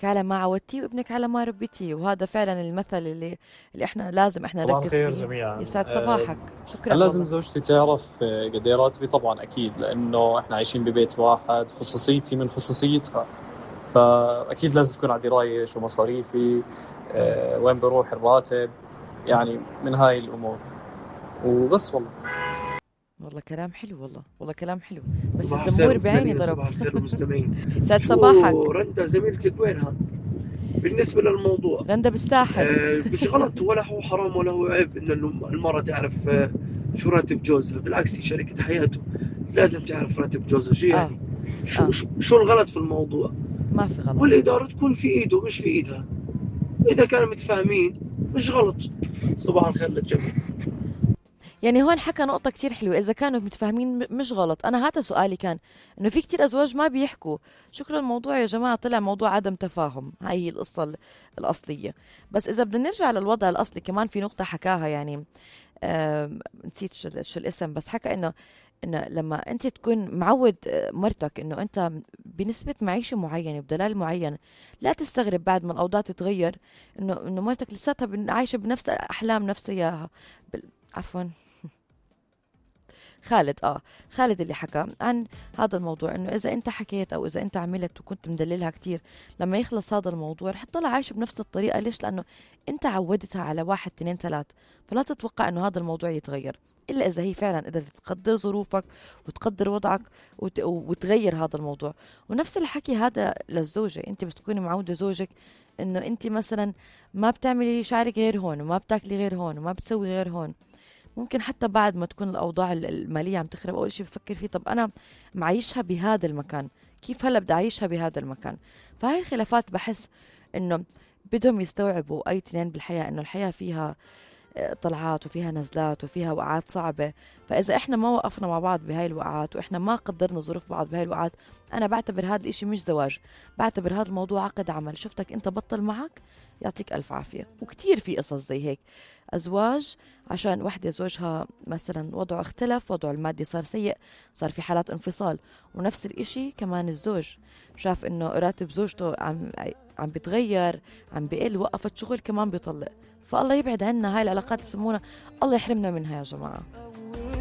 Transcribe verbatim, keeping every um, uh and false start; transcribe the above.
على ما عودتيه وابنك على ما ربيتيه، وهذا فعلا المثل اللي اللي احنا لازم احنا صباح نركز الخير فيه. جميعا. يسعد أه صباحك. شكرا هل لازم والله. زوجتي تعرف آه، قد ايه راتبي؟ طبعا اكيد، لانه احنا عايشين ببيت واحد، خصوصيتي من خصوصيتها، فاكيد لازم تكون على درايه شو مصاريفي، أه وين بروح الراتب، يعني من هاي الامور وبس. والله والله كلام حلو، والله والله كلام حلو، بس صباح الخير الزمور بعيني مستمعين، ضرب. صباح الخير المستمعين. يسعد شو صباحك. رندا زميلتك وينها بالنسبة للموضوع؟ رندا بالساحل. آه مش غلط ولا هو حرام ولا هو عيب إن المرأة تعرف آه شو راتب جوزها، بالعكس هي شريكة حياته، لازم تعرف راتب جوزها. شو اه يعني؟ شو, اه شو شو الغلط في الموضوع؟ ما في غلط. والإدارة تكون في إيده مش في إيدها، إذا كانوا متفاهمين مش غلط. صباح الخير للجميع. يعني هون حكى نقطة كتير حلوة، إذا كانوا متفاهمين م- مش غلط. أنا هذا سؤالي كان، إنه في كتير أزواج ما بيحكوا. شكرا، الموضوع يا جماعة طلع موضوع عدم تفاهم، هاي هي القصة ال- الأصلية. بس إذا بدنا نرجع للوضع الأصلي، كمان في نقطة حكاها يعني، آم، نسيت شو, شو الاسم، بس حكى إنه إنه لما أنت تكون معود آه، مرتك إنه أنت بنسبة معيشة معينة بدلال معين، لا تستغرب بعد ما الأوضاع تتغير إنه إنه مرتك لساتها بن- عايشة بنفس أحلام نفس إياها. بال- عفوا، خالد اه خالد اللي حكى عن هذا الموضوع، انه اذا انت حكيت او اذا انت عملت وكنت مدللها كتير، لما يخلص هذا الموضوع رح تضل عايشه بنفس الطريقه. ليش؟ لانه انت عودتها على واحد اثنين ثلاث، فلا تتوقع انه هذا الموضوع يتغير الا اذا هي فعلا قدرت تقدر ظروفك وتقدر وضعك وت... وتغير هذا الموضوع. ونفس الحكي هذا للزوجه، انت بس تكوني معوده زوجك انه انت مثلا ما بتعملي شعرك غير هون، وما بتاكلي غير هون، وما بتسوي غير هون. ممكن حتى بعد ما تكون الأوضاع ال- المالية عم تخرب، أول شيء بفكر فيه، طب أنا معيشها بهذا المكان، كيف هلأ بدي أعيشها بهذا المكان؟ فهاي الخلافات بحس إنه بدهم يستوعبوا أي اثنين بالحياة إنه الحياة فيها آه، طلعات وفيها نزلات وفيها وقعات صعبة. فإذا إحنا ما وقفنا مع بعض بهاي الوقعات، وإحنا ما قدرنا ظروف بعض بهاي الوقعات، أنا بعتبر هذا الإشي مش زواج، بعتبر هذا الموضوع عقد عمل. شفتك أنت بطل معك، يعطيك ألف عافية. وكتير في قصص زي هيك، أزواج عشان وحدة زوجها مثلا وضعه اختلف، وضعه المادي صار سيء، صار في حالات انفصال. ونفس الإشي كمان الزوج شاف إنه راتب زوجته عم عم بيتغير، عم بيقل، وقفت شغل كمان بيطلق. فالله يبعد عنا هاي العلاقات اللي بسمونا، الله يحرمنا منها يا جماعة.